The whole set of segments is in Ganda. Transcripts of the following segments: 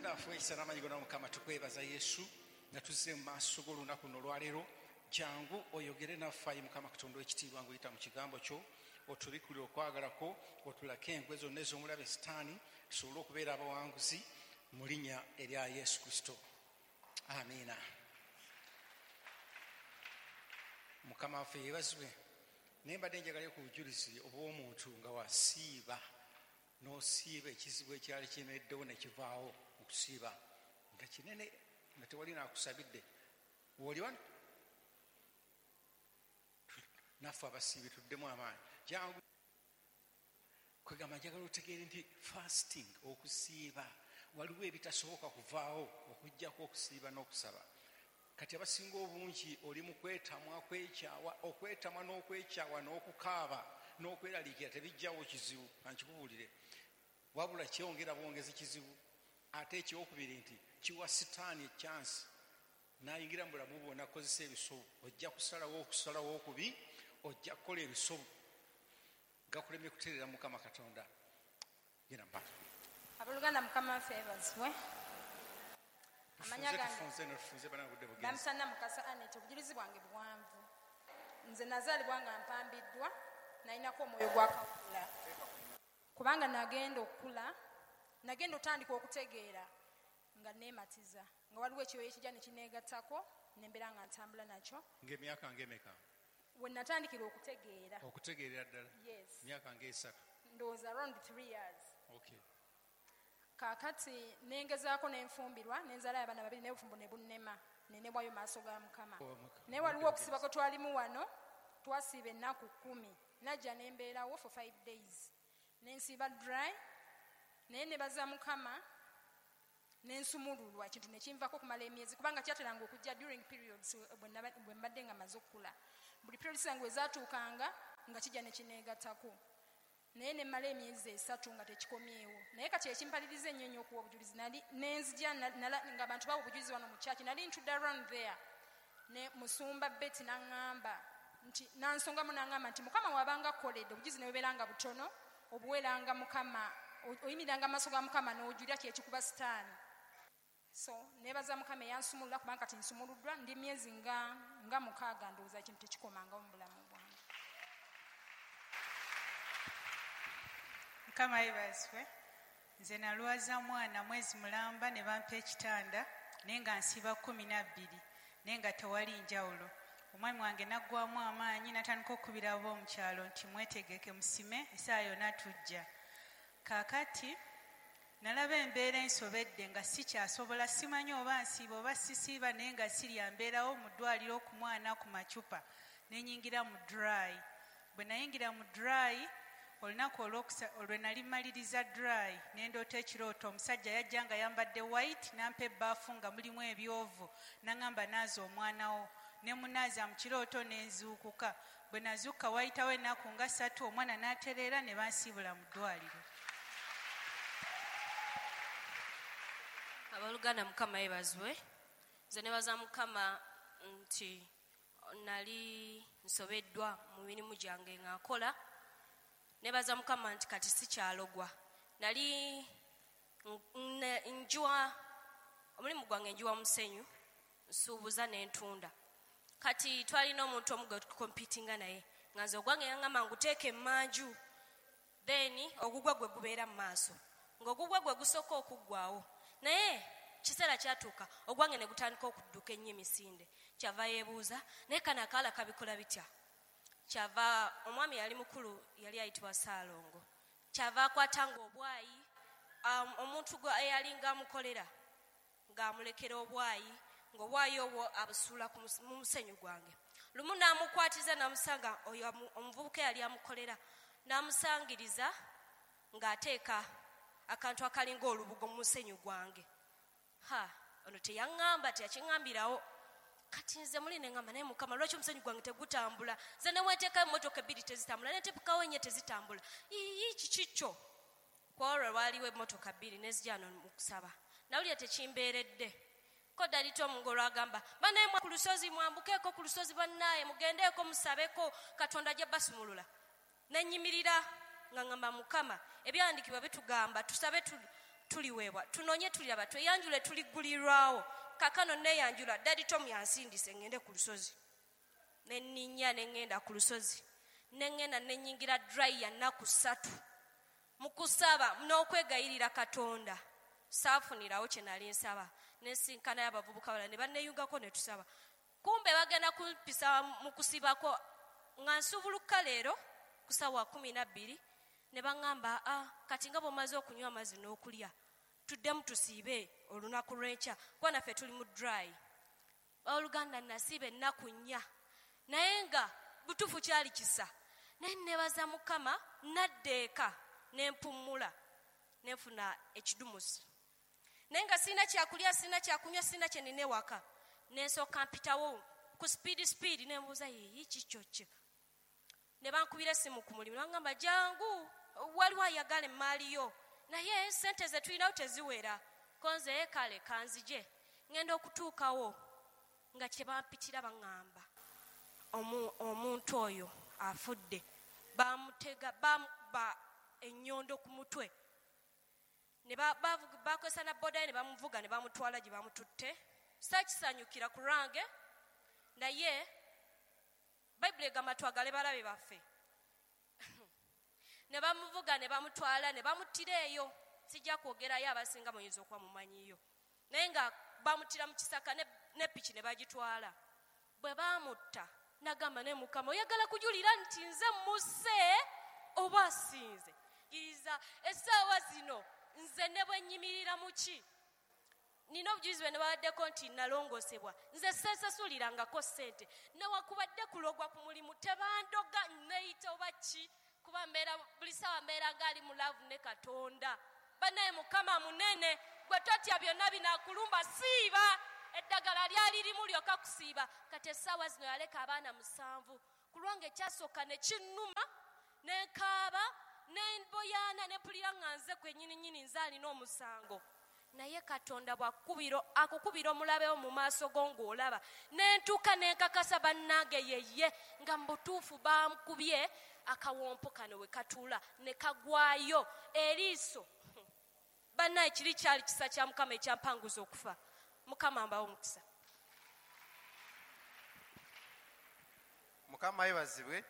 Katonda waffe ow'ekisa n'amaanyi gonna, Mukama, tukwebaza Yesu nga tuzze mu maaso g'olunaku luno olwaleero. Jangu oyogere naffe, ayi Mukama Katonda ow'ekitiibwa, ng'oyita mu kigambo kyo, otubikkulire okwagala kwo, otulake enkwe zonna ez'omulabe Sitaani, tusobole okubeera abawanguzi mu linnya erya Yesu Kristo. Amiina. Mukama waffe yeebazibwe. Naye mbadde njagalayo ku bujulizi obw'omuntu nga wasiiba, n'osiiba ekizibu ekyali kiyimiriddewo ne kivaawo mu kusiiba nga kinene, nga tewali naakusabidde. Wooli wano naffe abasiibi tuddemu amaanyi. Jangu kwegamba, njagala otegeere nti fasting, okusiiba, waliwo ebitasoboka kuvaawo okuggyako okusiiba n'okusaba. Kati abasinga obungi oli mu kwetamwa, kwekyawa, okwetamwa n'okwekyawa n'okukaaba n'okweraliikira tebijjawo kizibu, kankikubuulire, wabula kyongera bwongezi kizibu. Ate ekyokubiri nti kiwa Sitaani ekyansi n'ayingira mu bulamu bwo n'akozesa ebisobu. Ojja kusalawo okusalawo okubi, ojja kukola ebisobu gakulemye kutereera Mukama Katonda. Genda mu maaso. Abooluganda, Mukama waffe yeebazibwe. Amanya Tufunze, gange tufunze no tufunze bana budde bugenze. Bampita Namukasa Annet. Obujulizi bwange buwanvu. Nze nazaalibwa nga mpambiddwa, nalinako omwoyo gwa kawuula, kubanga nagenda okukula, nagenda otandika okutegeera nga neematiza, nga waliwo ekyoyo ekijja ne kineegattako, ne mbeera nga ntambula nakyo. Ng'emyaka ng'emeka? We natandikira okutegeera. Okutegeerera ddala? Yes. Myaka ng'esatu? Ndowooza around 3 years. Okay. Kaakati nengezaako nenfumbirwa, nenzalayo abaana babiri, naye obufumbo ne bunnema, nenebwayo maaso ga Mukama. Oh, Mukama. Naye waliwo okusiiba kwe twalimu wano, twasiiba ennaku 10, najja nembeerawo for 5 days, nensiiba dry, naye nebaza Mukama nensumululwa ekintu nekinvaako okumala emyezi, kubanga kyateranga okujja during periods bwe mbadde nga maze okukula. Buli periods zange we zaatuukanga nga kijja ne kineegattako, naye ne mmala emyezi 3 nga tekikomyewo. Naye kati ekimpaliriza ennyo ennyo okuwa obujulizi, nali nenzija ng'abantu bawa obujulizi wano mu church, nali ntudde around there ne musumba Betty n'aŋŋamba nti, n'ansongamu n'aŋŋamba nti Mukama w'abanga akkoledde obujulizi ne bubeera nga butono, obuweeranga Mukama, oyimiriranga mu maaso ga Mukama n'ojulira kyekikuba Sitaani. So neebaza Mukama eyansumulula, kubanga kati nsumuluddwa, ndi myezi nga 6 ndowooza ekintu tekikomangawo mu bulamu bwange. Mukama yeebazibwe. Nze nalwaza mwana mwezi mulamba ne bampa ekitanda, naye nga nsiiba 12, naye nga tewali njawulo. Omwami wange n'aggwamu amaanyi n'atandika okukubira ab'omukyalo nti mwetegeke musime, essaawa yonna tujja. Kaakati nalaba embeera ensobedde nga sikyasobola, simanyi oba nsiiba oba sisiiba, naye nga sirya, mbeerawo mu ddwaliro ku mwana ku macupa, ne nnyingira mu dry. Bwe nayingira mu dry, olunaku olwe nali mmaliriza dry, ne ndoota ekirooto, omusajja yajja nga yambadde white, n'ampa ebbaafu nga mulimu ebyovu, n'aŋŋamba naaza omwana wo. Ne munaaza mu kirooto ne nzuukuka. Bwe nazuukuka wayitawo ennaku nga 3, omwana n'atereera ne bansiibula mu ddwaliro. Abooluganda, Mukama yeebazibwe. Nze nebaza Mukama nti nali nsobeddwa mu mirimu gyange nga nkola. Nebaza Mukama nti kati sikyalogwa. Nali njiwa, omulimu gwange njiwa musenyu, nsuubuza n'entunda. Kati twalina omuntu omu gwe tukompitinga naye, nga nze ogwange yaŋŋamba nguteeke emmanju, then ogugwe gwe gubeera mu maaso, ng'ogugwe gwe gusooka okuggwawo. Naye kiseera kyatuuka ogwange ne gutandika okudduka ennyo emisinde. Kyava yeebuuza, naye kano akaala kabikola bitya? Kyava omwami yali mukulu, yali ayitibwa Ssaalongo. Kyava akwatanga obwayi, omuntu gwe eyalinga amukolera ng'amulekera obwayi, ng'obwayi obwo abusuula mu musenyu gwange. Lumu n'amukwatiza n'amusanga oyo omuvubuka eyali amukolera, n'amusangiriza ng'ateeka akantu akalinga olubugo mu musenyu gwange. Ha, ono teyaŋŋamba, teyakiŋŋambirawo. Kati nze muli ne ŋŋamba, naye Mukama, lwaki omusenyu gwange tegutambula? Nze ne bwe nteekayo emmotoka 2 tezitambula, ne nteekawo 4 tezitambula. Ii, kiki kyo? Ku olwo lwaliwo emmotoka 2 ne zijja wano mu kusaba. Nawulira tekimbeeredde. Ko Daddy Tom ng'olwagamba, bannaye mwa ku lusozi, mwambukeeko ku lusozi bannaye, mugendeeko musabeko, Katonda ajja basumulula. Ne nnyimirira nga ŋŋamba, Mukama, ebyawandiikibwa bitugamba tusabe tuliweebwa, tunoonye tuliraba, tweyanjule tuliggulirwawo. Kaakano neeyanjula, Daddy Tom yansindise ŋŋende ku lusozi. Ne nninnya ne ŋŋenda ku lusozi. Ne ŋŋenda ne nnyingira dry ya nnaku 3. Mu kusaba n'okwegayirira Katonda, saafunirawo kye nali nsaba. Ne nsinkanayo abavubuka balala ne banneeyungako ne tusaba. Kumbe bagenda kumpisa mu kusibako nga nsuubuluka leero ku ssaawa 12, ne baŋŋamba, kati nga bw'omaze okunywa amazzi n'okulya, tuddemu tusiibe olunaku lw'enkya, kuba naffe tuli mu dry. Ooluganda nasiiba ennaku 4, naye nga butuufu kyali kisa. Naye neebaza Mukama, nadda eka ne mpummula, ne nfuna ekidumusi. Naye nga sirina kyakulya, sirina kyakunywa, sirina kye nnina ewaka. Ne nsooka mpitawo ku speed ne mbuuza, yeeyi kikyo ki? Ne bankubira essimu ku mulimu, ne baŋŋamba, jangu, waliwo ayagala emmaali yo, naye ssente ze tulinawo teziwera. Ko nze kale kanzije. Ŋŋenda okutuukawo nga kye bampitira baŋŋamba, omuntu oyo afudde, bamutega, bamukuba ennyondo ku mutwe. Ne bakozesa na boda ye ne bamuvuga ne bamutwala gye bamututte. Saakisanyukira ku lwange, naye Bayibuli egamba twagale balabe baffe. Ne bamuvuga ne bamutwala ne bamuttira eyo. Sijja kwogerayo, abasinga muyinza okuba mumanyiyo. Naye nga bamuttira mu kisaka ne piki ne bagitwala. Bwe baamutta, nagamba ne Mukama, oyagala kujulira nti nze musse oba sinze? Kkiriza essaawa zino nze ne bwe nnyimirira mu ki? Nina obujulizi bwe nebawaddeko nti nalongoosebwa. Nze seesasulirangako ssente. Newakubadde kulogwa ku mulimu, tebandoga neeyita oba ki, kuba mbeera buli ssaawa mbeera ng'ali mu love ne Katonda. Bannaye Mukama munene, gwe totya byonna binaakulumba, siiba. Eddagala lyali limu lyokka kusiiba. Kati essaawa zino yaleka abaana 7. Ku lwange ekyasooka ne kinnuma, ne nkaaba, ne mboyaana, ne mpulira nga nze kwennyini nnyini nze alina omusango. Naye Katonda akukubira omulabe wo mu maaso go ng'olaba. Ne ntuuka ne nkakasa bannange yeye nga mu butuufu bamukubye akawompo kano we katuula ne kagwayo eriiso. Bannaye kiri kyali kisa kya Mukama ekyampanguza okufa. Mukama mbawe omukisa. Mukama yeebazibwe.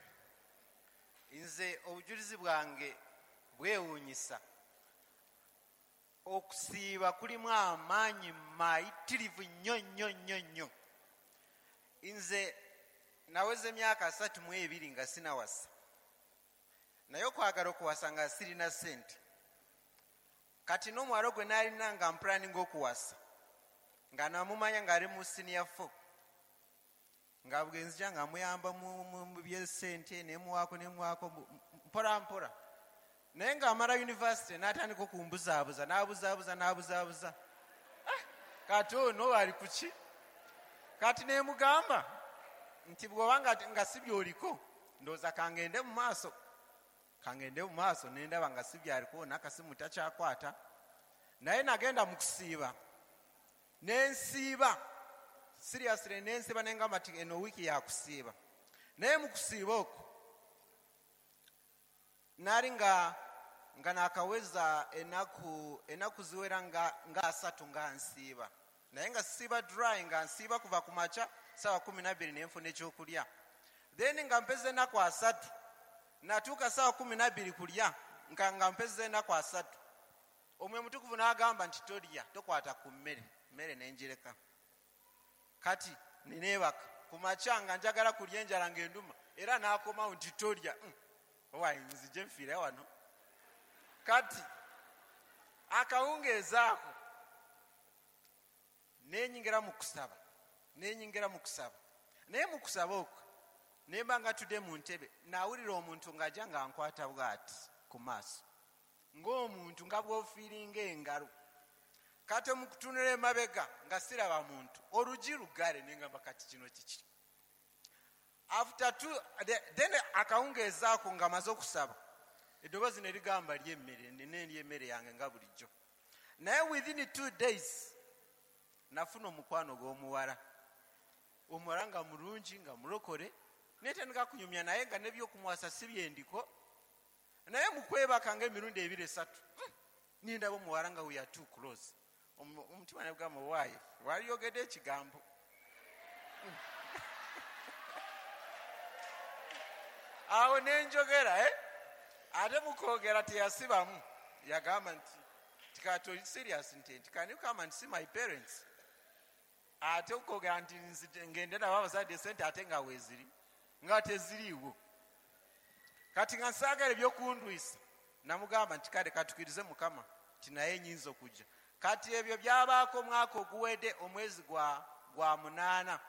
Nze obujulizi bwange bwewuunyisa. Okusiiba kulimu amaanyi mayitirivu nnyo nnyo nnyo nnyo. Nze naweza emyaka 32 nga sinawasa, naye okwagala okuwasa nga sirina ssente. Kati n'omuwala gwe nalina nga mpulaninga okuwasa, nga namumanya ng'ali mu senior 4, nga bwe nzija nga muyamba mu by'essente, nemuwaako mpola mpola. Naye ng'amala university n'atandika okumbuzaabuza, n'abuzaabuza, n'abuzaabuza. Kati ono ali ku ki? Kati nemugamba nti bw'oba nga si by'oliko, ndowooza kangende mu maaso. Kangende mu maaso ne ndaba nga si byaliko, n'akasimu takyakwata. Naye nagenda mu kusiiba. Ne nsiiba. Seriously, ne nsiiba ne ngamba nti eno wiiki ya kusiiba. Naye mu kusiiba okwo, nali nga nakaweza ennaku ziwera nga 3 nga nsiiba. Naye nga siba dry, nga nsiiba kuva ku makya ssaawa 12 ne nfuna ekyokulya. Then nga mpeza ennaku 3, natuuka ssaawa 12 kulya, nga mpeza ennaku 3. Omwoyo Mutukuvu n'agamba nti tolya, tokwata ku mmere, mmere ne njireka. Kati neebaka ku makya nga njagala kulya enjala ng'enduma, era n'akomawo nti tolya. Owaye nzije nfiire wano. Kati akawungeezi ako nenyingira mu kusaba, nenyingira mu kusaba. Naye mu kusaba okwo nemba nga tudde mu ntebe, nawulira omuntu ng'ajja nga nkwata bw'ati ku maaso, ng'omuntu nga bw'ofiiringa engalo. Kati mu kutunula emabega nga siraba muntu, oluggi luggale, ne ngamba kati kino kiki? After two, then akawungeezi ako nga maze okusaba, eddoboozi ne ligamba lya emmere, ne ndya emmere yange nga bulijjo. Naye within 2 days nafuna omukwano gw'omuwala. Omuwala nga mulungi, nga mulokole, netandika kunyumya naye nga n'ebyokumuwasa si byendiko. Naye mu kwebaka ng'emirundi 2 3, Nindaba omuwala nga we are too close. Omutima ne gugamba, why? Waliyogedde ekigambo. Awo ne njogera, Ate mu kwogera teyasibamu. Yagamba nti, kati oli serious nti, can you come and see my parents? Ate okwogera nti ngende nabo abazadde sente ate nga weeziri, nga teziriiwo. Kati nga nsaagala ebyokundwisa, namugamba nti kale katukirize Mukama, nti naye nnyinza okujja. Kati ebyo byabaako omwaka oguwedde omwezi gwa 8.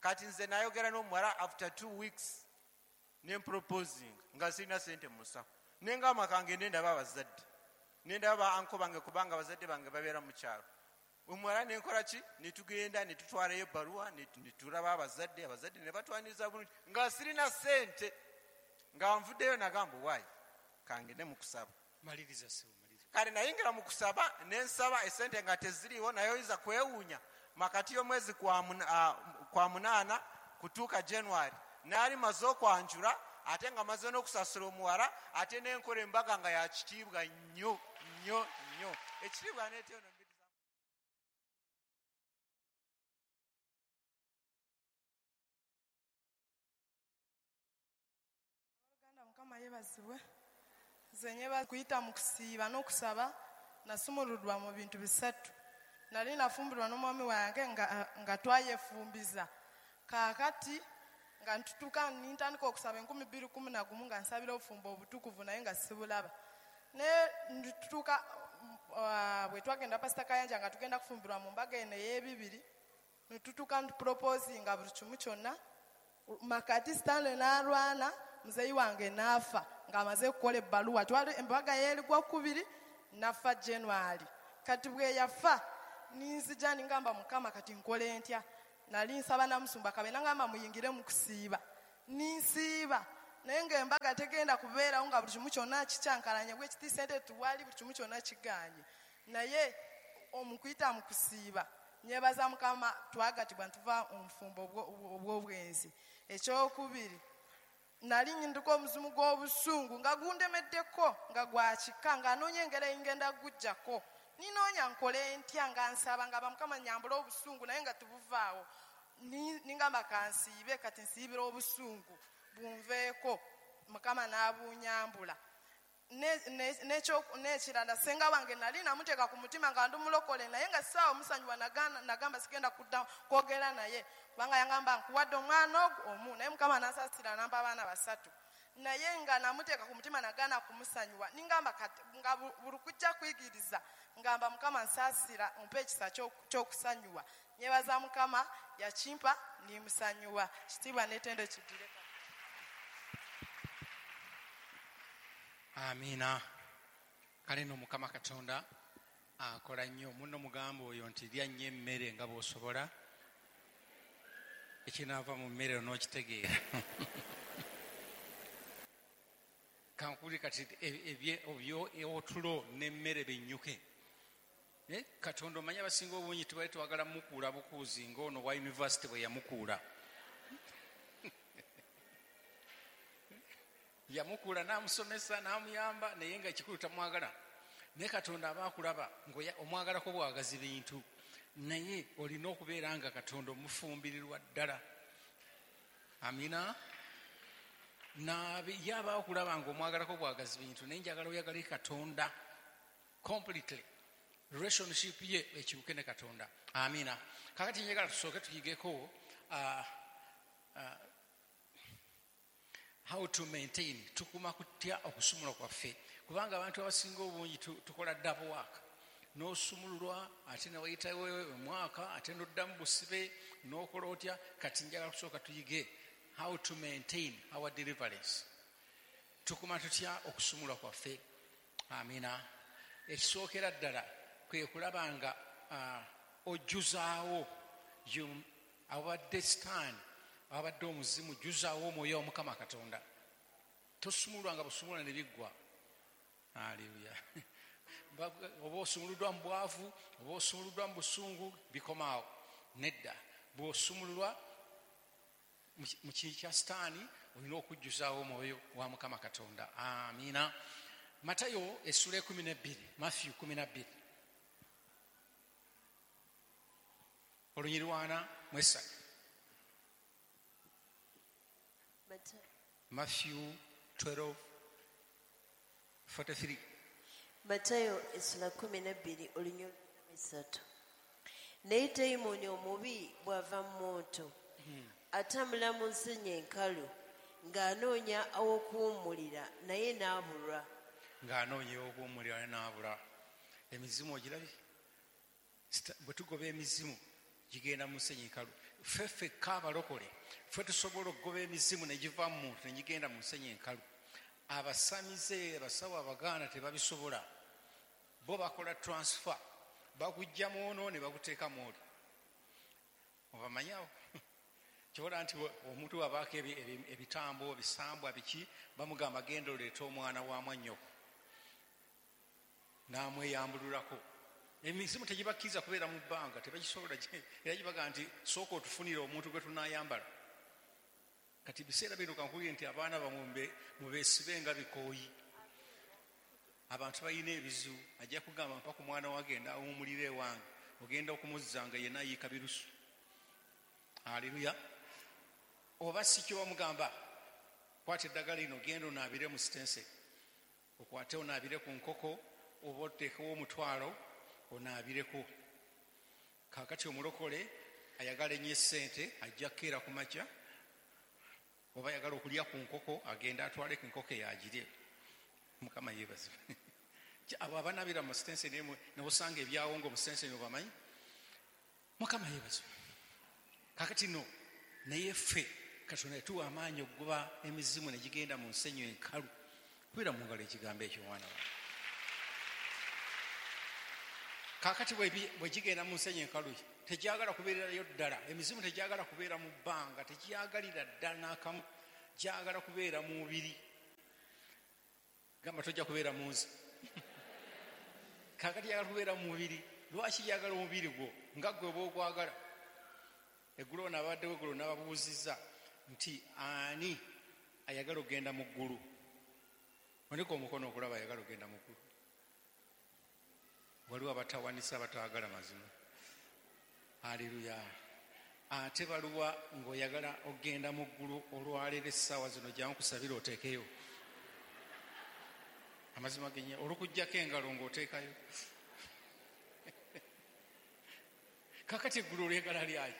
Kati nze nayogera n'omuwala after 2 weeks ne proposing nga sirina sente mu musawo. Ne ngamba kangende ndaba abazadde. Ne ndaba anko bange kubanga abazadde bange babeera mu kyalo. Omuwala ne nkola ki? Ne tugenda ne tutwalayo ebbaluwa ne tulaba abazadde, abazadde ne batwaniriza bulungi nga sirina sente. Nga nvuddeyo nagamba why? Kangende mu kusaba. Maliriza ssebo, maliriza. Kale nayingira mu kusaba ne nsaba esente nga teziriiwo, naye oyinza kwewuunya. Makati y'omwezi kwa 8 kutuuka January, naali maze okwanjula ate nga maze n'okusasula omuwala, ate n'enkola embaga nga ya kitiibwa nnyo nnyo nnyo. Ekitiibwa n'etyo no. Mukama yeebazibwe. Nze nyebaza kuyita mu kusiiba n'okusaba, nasumuluddwa mu bintu 3. Nali nafumbirwa n'omwami wange nga twayefumbiza. Kaakati nga ntutuuka nintandika okusaba 2011 nga nsabira obufumbo obutukuvu naye nga sibulaba. Naye ntutuuka bwe twagenda Pastor Kayanja nga tugenda kufumbirwa mu mbaga eno ey'ebibiri, ntutuuka ntuproposinga buli kimu kyonna. Makati Stanley n'alwana, muzeeyi wange n'afa ng'amaze kukola ebbaluwa. Twali embaga yeerigwa 2, nafa January. Kati bwe yafa ninzija ningamba Mukama kati nkole ntya? Nali nsaba namusumba kabe nangamba muyingire mu kusiiba. Ninsiiba naye ng'embaga tegenda kubeerawo nga buli kimu kyonna kikyankalanye bwe kiti sente tuwali buli kimu kyonna kiganye. Naye omukuyita mu kusiiba nyebaza Mukama twagatibwa ntuva omufumbo obw'obwenzi. Ekyokubiri, nali nyinduka omuzimu gw'obusungu nga gundemeddeko nga gwakika nga anoonya engeri engenda gujjako. Ninoonya nkole ntya nga nsaba nga Mukama nyambula obusungu naye nga tubuvaawo. Ningamba kansiibe kati nsiibira obusungu bunveeko, Mukama n'abunyambula. N'ekirala senga wange nali namuteeka ku mutima nga ndi mulokole naye nga ssaawa musanyuwa nagamba sigenda kudda kwogera naye kubanga yangamba nkuwadde omwana ogwo omu, naye Mukama n'ansaasira n'ampa abaana 3. Naye nga namuteeka ku mutima nagaana kumusanyuwa. Ningamba kati nga buli kujja kuyigiriza ngamba Mukama nsaasira ompe ekisa ky'okusanyuwa. Nyebaza Mukama yakimpa nimusanyuwa. Kitiibwa n'ettendo kiddire. Amiina. Kale nno Mukama Katonda akola nnyo. Munno mugamba oyo nti lya nnyo emmere nga bw'osobola, ekinaava mu mmere onookitegeera. Kankuli kati otulo n'emmere binnyuke. Katonda omanyi abasinga obungi tubali twagala mukuula bukuuzi ng'ono wa yunivasite bwe yamukuula. Yamukuula n'amusomesa n'amuyamba naye nga ekikulu tamwagala. Naye Katonda aba akulaba ng'omwagalako bwagazi bintu, naye olina okubeera nga Katonda omufumbirirwa ddala. Amina. Ye aba akulaba ng'omwagalako bwagazi bintu, naye njagala oyagale Katonda completely. Relationship ye ekibuke ne Katonda. Amina. Kakati njagala tusooke tuyigeko how to maintain, tukuma kutya okusumula kwaffe, kubanga abantu abasinga obungi tukola double work. N'osumululwa ate ne wayitawo omwaka ate n'oddamu busibe n'okola otya. Kati njagala kusooka tuyige how to maintain our deliverance. Tukuma tutya okusumulwa kwaffe. Amina. Ekisookera ddala kwe kulaba nga ojjuzaawo abadde sitaani abadde omuzimu, jjuzaawo omwoyo wa Mukama Katonda. Tosumulwa nga busumulwa ne biggwa. Haleluya. Oba osumuluddwa mu bwavu, oba osumuluddwa mu busungu, bikomaawo. Nedda, bw'osumululwa mu kii kya sitaani olina okujjuzaawo omwoyo wa Mukama Katonda. Amiina. Matayo essula 12, Matthew 12, olunyiri 43. Matthew 12:43. Matayo essula 12 olunyiri 43. Naye dayimooni omubi bw'ava mu muntu, atambula mu nsenyi enkalu ng'anoonya aw'okuwummulira naye n'abulwa. Ng'anoonya aw'okuwummulira naye n'abula. Emizimu ogirabye? Bwe tugoba emizimu gigenda mu nsenyi enkalu. Ffe ffekka abalokole ffe tusobola okugoba emizimu ne giva mu muntu ne gigenda mu nsenyi enkalu. Abasamize, abasawo Abaganda tebabisobola. Bo bakola transfer, bakujja mu ono ne bakuteeka mu oli. Obamanyi awo? Kyobola nti omuntu bw'abaako ebitambo, ebisambwa biki, bamugamba genda oleete omwana wa mwannyoko n'amweyambululako. Emizimu tegibakkiriza kubeera mu bbanga, tebagisobola. Era gibaga nti sooka otufunire omuntu gwe tunaayambala. Kati biseera bino kankubire nti abaana bammwe mubeesibe nga bikooyi. Abantu balina ebizibu, ajja kugamba mpa ku mwana wange awummulire ewange, ogenda okumuzza nga yenna ayiika birusu. Haleluya. Oba si kyo bamugamba kwata eddagala lino genda onaabire mu sitense, okwate onaabire ku nkoko oba oteekewo omutwalo onaabireko. Kaakati omulokole ayagala ennyo essente ajja kukeera ku makya, oba ayagala okulya ku nkoko agenda atwale ku nkoko eyo agirye. Mukama yeebazibwe. Abo abanaabira mu sitense ne osanga ebyawongo mu sitense obamanyi. Mukama yeebazibwe. Kaakati no naye ffe Katonda yatuwa amaanyi okugoba emizimu ne gigenda mu nsenyi enkalu. Kubira mu ngalo ekigambo ekyo mwana wange. Kaakati bwe gigenda mu nsenyi enkalu tegyagala kubeererayo ddala. Emizimu tegyagala kubeera mu bbanga, tegyagalira ddala n'akamu, gyagala kubeera mu mubiri. Gamba tojja kubeera mu nze. Kaakati gyagala kubeera mu mubiri. Lwaki gyagala omubiri gwo nga ggwe bw'ogwagala? Eggulo ono abaddewo eggulo n'ababuuzizza nti ani ayagala okugenda mu ggulu? Onika omukono okulaba ayagala okugenda mu ggulu. Waliwo abatawanisa abataagala mazima. Aleluya. Ate baluwa ng'oyagala okugenda mu ggulu olwaleero essaawa zino, jangu kusabira oteekeyo amazima genye olukuggyako engalo ng'oteekayo. Kakati eggulu olyagala lyayi?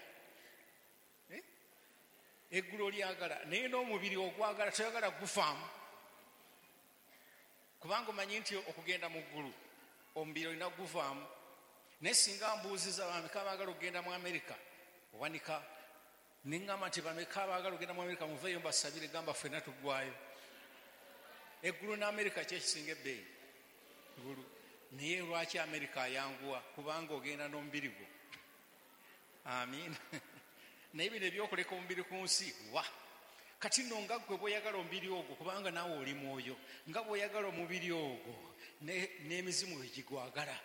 Eggulu olyagala, naye n'omubiri ogwagala, toyagala gufaamu, kubanga omanyi nti okugenda mu ggulu omubiri olina guvaamu. Naye singa mbuuziza bameka abaagala okugenda mu Amerika, owanika neŋŋamba nti bameka abaagala okugenda mu Amerika muveeyo mbasabire, gamba ffenna tuggwayo. Eggulu n'Amerika kyekisinga ebbeeyi? Ggulu. Naye lwaki Amerika ayanguwa? Kubanga ogenda n'omubiri gwo. Amiina. Naye bino ebyokuleka omubiri ku nsi wa kati nno nga ggwe bw'oyagala omubiri ogwo, kubanga naawe oli mwoyo, nga bw'oyagala omubiri ogwo n'emizimu bwe gigwagala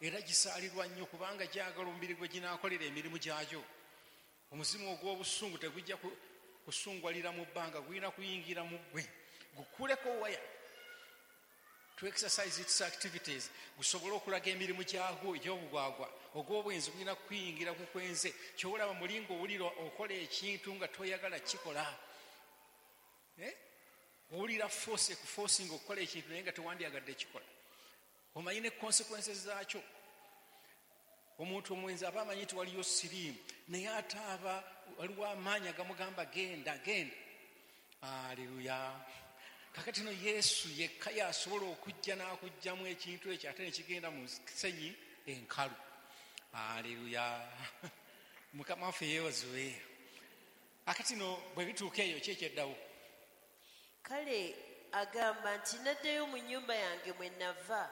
era gisaalirwa nnyo, kubanga gyagala omubiri gwe ginaakolera emirimu gyagyo. Omuzimu ogw'obusungu tegujja kusungwalira mu bbanga, gulina kuyingira mu ggwe gukuleko waya to exercise its activities, gusobole okulaga emirimu gyagwo egy'obugwagwa. Ogw'obwenzi gulina kuyingira kukwenze. Kyolaba muli ng'owulira okola ekintu nga toyagala kikola. Eh? Owulira force ekuforcinga okukola ekintu naye nga tewandyagadde kikola, omanyi ne consequences zaakyo. Omuntu omwenzi aba amanyi nti waliyo siriimu, naye ate aba waliwo amaanyi agamugamba genda, genda. Aleluya. Kakati no Yesu yekka yasobola okujja n'akugjamu ekintu ekyo ate nekigenda mu nsenyi enkalu. Aleluya. Mukama waffe yeebazibwe. Akati no bwe bituuka eyo ki ekyeddawo? Kale agamba nti naddayo mu nnyumba yange mwe nava.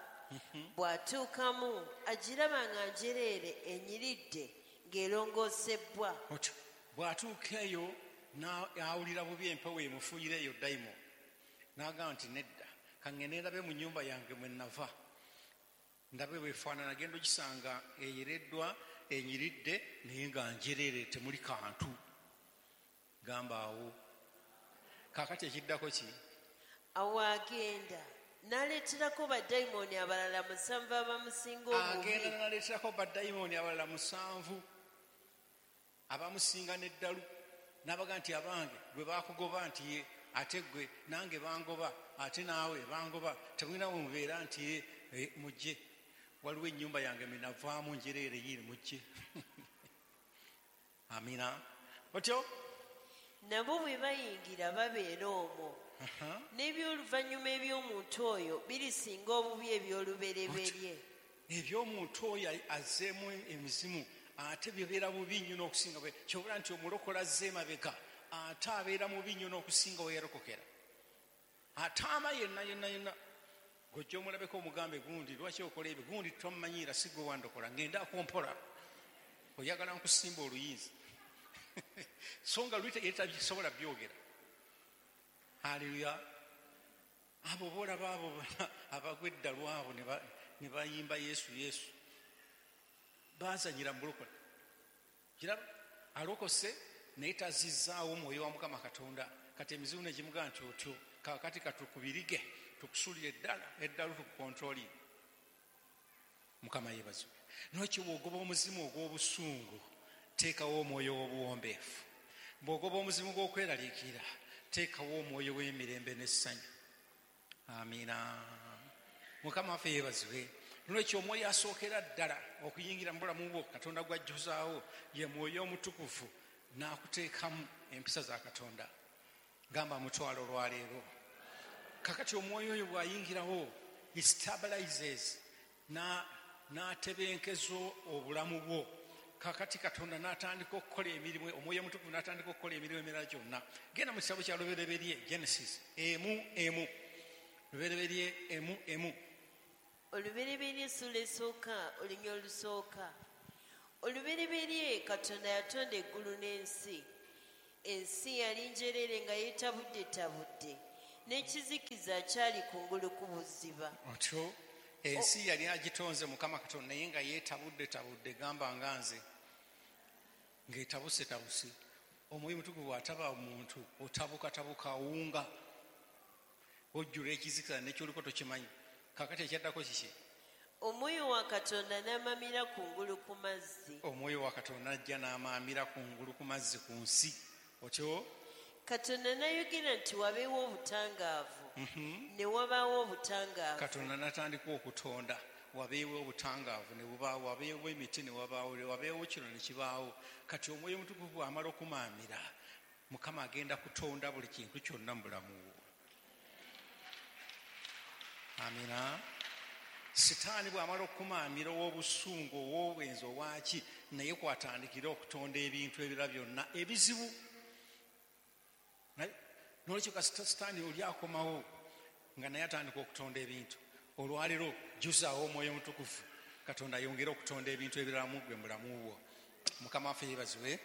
Bw'atuukamu agiraba nga njereere, enyiridde, ng'erongoosebbwa. Otyo bw'atuuka eyo n'awulira bubi, empewo emufuuyira eyo dayimoni, n'agamba nti nedda, kaŋŋende ndabe mu nnyumba yange mwe nava, ndabe bwefaanana. Genda ogisanga eyereddwa, enyiridde, naye nga njereere, temuli kantu. Gamba awo. Kaakati ekiddako ki? Awo agenda N'aleeterako badayimooni abalala 7 abamusinga obubi. Agenda n'aleeterako badayimooni abalala 7 abamusinga n'eddalu, n'abaga nti abange gwe baakugoba nti ye, ate gwe nange bangoba, ate naawe bangoba, temulina we mubeera nti ye, mujje, waliwo ennyumba yange minavaamu njereere yiri, mujje. Amina. Otyo? Nabo bwe bayingira babeera omwo. N'ebyoluvannyuma eby'omuntu oyo birisinga obubi eby'olubereberye. Eby'omuntu oyo azzeemu emizimu ate bibeera bubi nnyo n'okusinga. Kyobula nti omulokola azze emabega ate abeera mubi nnyo n'okusinga we yalokokera. Ataama yenna yenna yenna. Gojja omulabeko omugambe gundi lwaki okola ebyo, gundi tomumanyiira si gwe wandokola, ngenda akompola oyagala nkusimba oluyinza. So nga luli tabisobola byogera. Haleluya. Abo boolaba abo abagwa eddalu abo ne bayimba Yesu Yesu, baazanyira mu bulokole. Kiraba alokose naye tazizzaawo omwoyo wa Mukama Katonda. Kati emizimu ne gimugamba nti otyo kaakati katukubirige tukusuulire eddala eddalu tukukontroli. Mukama yeebazibwe. N'olwekyo bw'ogoba omuzimu ogw'obusungu teekawo omwoyo w'obuwombeefu. Bw'ogoba omuzimu gw'okweraliikirira teekawo omwoyo w'emirembe n'essanyu. Amiina. Mukama waffe yeebazibwe. N'olwekyo omwoyo asookera ddala okuyingira mu bulamu bwo Katonda gw'ajjuzaawo ye mwoyo omutukuvu, n'akuteekamu empisa za Katonda. Gamba mutwalo olwaleero. Kakati omwoyo oyo bw'ayingirawo he stabilizes, n'atebenkeza obulamu bwo. Kakati Katonda n'atandika okukola emirimu, omwoyo omutukuvu n'atandika okukola emirimu emirala gyonna. Genda mu kitabo kya Lubereberye, Genesis 1:1. Lubereberye 1:1. Olubereberye essula esooka, olunya olusooka. Olubereberye Katonda yatonda eggulu n'ensi. Ensi yali njereere nga yeetabuddetabudde, n'ekizikiza kyali kungulu ku buziba. Otyo ensi yali agitonze Mukama Katonda naye nga yeetabuddetabudde, gamba nga nze ng'etabusetabuse. Omwoyo omutukuvu bw'ataba omuntu otabukatabuka, awunga, ojjula ekizikiza n'ekyoliko tokimanyi. Kaakati ekyaddako kiki? Omwoyo wa Katonda n'amamira kungulu ku mazzi. Omwoyo wa Katonda ajja n'amamira kungulu ku mazzi ku nsi. Otyo? Katonda n'ayogera nti wabeewo obutangaavu. Ne wabaawo obutangaavu. Katonda n'atandika okutonda, wabeewo obutangaavu ne bubaawo, wabeewo emiti ne wabaawo, wabeewo kino ne kibaawo. Kati omwoyo omutukuvu bw'amala okumaamira, Mukama agenda kutonda buli kintu kyonna mu bulamu bwo. Amina. Sitaani bw'amala okumaamira ow'obusungu, ow'obwenzi, owaaki, naye kwatandikira okutonda ebintu ebirala byonna ebizibu. N'olwekyo kasita Sitaani oli akomawo nga naye atandika okutonda ebintu. Olwaleero jjuzaawo omwoyo omutukuvu, Katonda ayongere okutonda ebintu ebirala mu ggwe mu bulamu bwo. Mukama waffe yeebazibwe.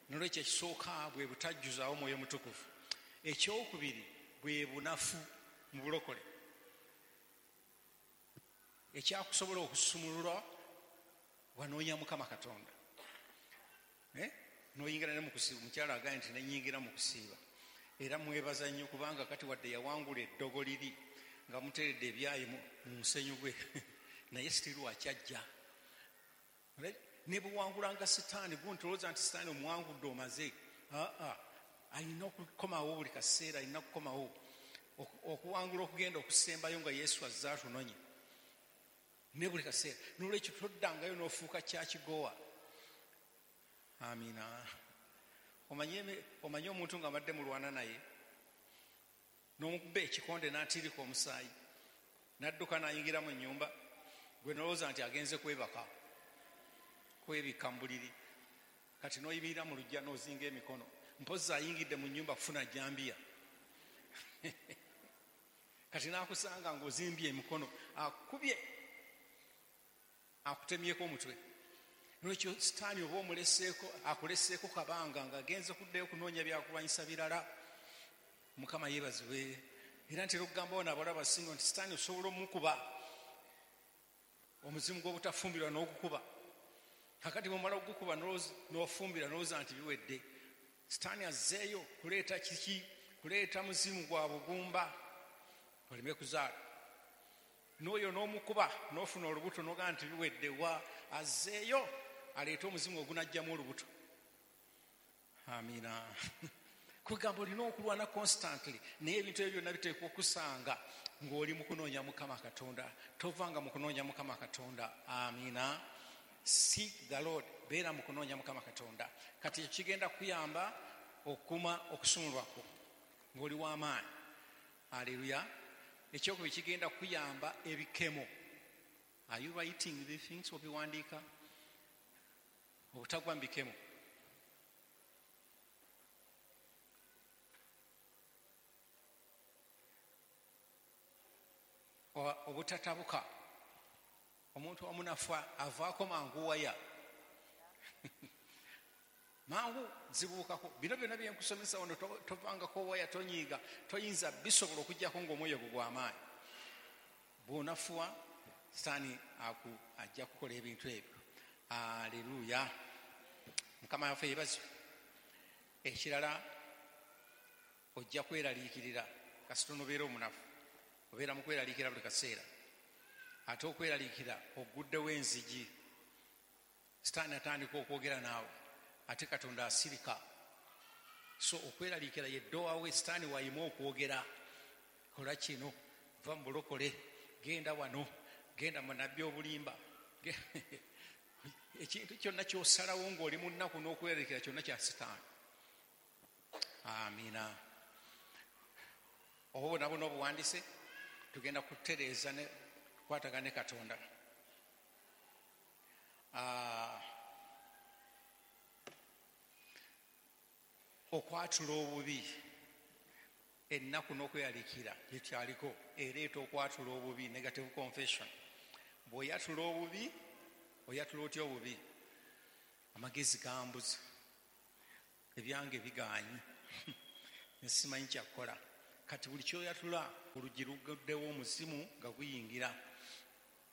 N'olwekyo ekisooka bwe butajjuzaawo omwoyo omutukuvu. Ekyokubiri bwe bunafu mu bulokole. Ekyakusobola okusumululwa wanoonya Mukama Katonda. N'oyingira ne mu kusiiba. Omukyala agambye nti nenyingira mu kusiiba. Era mwebaza nnyo kubanga kati wadde yawangula eddogo liri nga muteeredde ebyayi mu musenyu gwe, naye sitiru akyajja. Ne buwangulanga Sitaani, guntolooza nti Sitaani omuwangudde omaze. Alina okukomawo buli kaseera, alina okukomawo okuwangula okugenda okusembayo nga Yesu azze atunonye. Ne buli kaseera. N'olwekyo toddangayo n'ofuuka kyakigowa. Amina. Omanye omuntu nga abadde mulwana naye n'omukuba ekikonde n'atiirika omusaayi n'adduka n'ayingira mu nnyumba, gwe n'olowooza nti agenze kwebaka, kwebikka mu buliri. Kati n'oyimirira mu luggya n'ozinga emikono, mpozzi ayingidde mu nnyumba kufuna jambiya. Kati n'akusanga ng'ozimbye emikono, akubye, akutemyeko omutwe. N'olwekyo Sitaani oba omuleseeko, akuleseeko kabanga ng'agenze kuddayo kunoonya byakulwanyisa birala. Mukama yeebazibwe. Era ntera okugamba wano abawala abasinga nti Sitaani osobola omukuba omuzimu gw'obutafumbirwa n'ogukuba. Kakati bw'omala okugukuba n'ofumbirwa n'olowooza nti biwedde. Sitaani azzeeyo kuleeta kiki? Kuleeta muzimu gwa bugumba oleme kuzaala. N'oyo n'omukuba n'ofuna olubuto n'ogamba nti biwedde, wa azzeeyo aleete omuzimu ogunajjamu olubuto. Amiina. Kwegamba olina okulwana constantly, naye ebintu ebyo byonna biteekwa okusanga ng'oli mu kunoonya Mukama Katonda. Tovanga mu kunoonya Mukama Katonda. Amiina. Seek the Lord, beera mu kunoonya Mukama Katonda. Kati ekyo kigenda kuyamba okuma okusumulwako ng'oli w'amaanyi. Aleluya. Ekyokubiri kigenda kuyamba ebikemo. Are you writing these things? Obiwandiika obutagwa mu bikemo. Obutatabuka. Omuntu omunafu avaako mangu waya mangu zibuukako. Bino byonna bye nkusomesa wano, tovangako waya, tonyiiga, toyinza bisobola okuggyako ng'omwoyo gwo gw'amaanyi. Bw'onafuwa Sitaani ajja kukola ebintu ebyo. Aleluya. Mukama waffe yeebazibwe. Ekirala ojja kweraliikirira kasita onobeera omunafu, obeera mu kweraliikirira buli kaseera. Ate okweraliikira oguddewo enzigi, Sitaani atandika okwogera naawe, ate Katonda asirika. So okweraliikira ye doorway Sitaani wayima okwogera. Kola kino, va mu bulokole, genda wano, genda mu nabbi obulimba. Ekintu kyonna ky'osalawo ng'oli mu nnaku n'okweraliikira kyonna kya Sitaani. Amiina. Obwo bwonna bwonna obuwandiise, tugenda kutereeza ne kukwatagana ne Katonda. Okwatula obubi, ennaku n'okweraliikirira gyekyaliko ereeta okwatula obubi, negative confession. Bw'oyatula obubi, oyatula otya obubi? Amagezi gambuze, ebyange bigaanyi, nsimanyi kyakukola. Kati buli kyoyatula oluggi luguddewo omuzimu nga guyingira.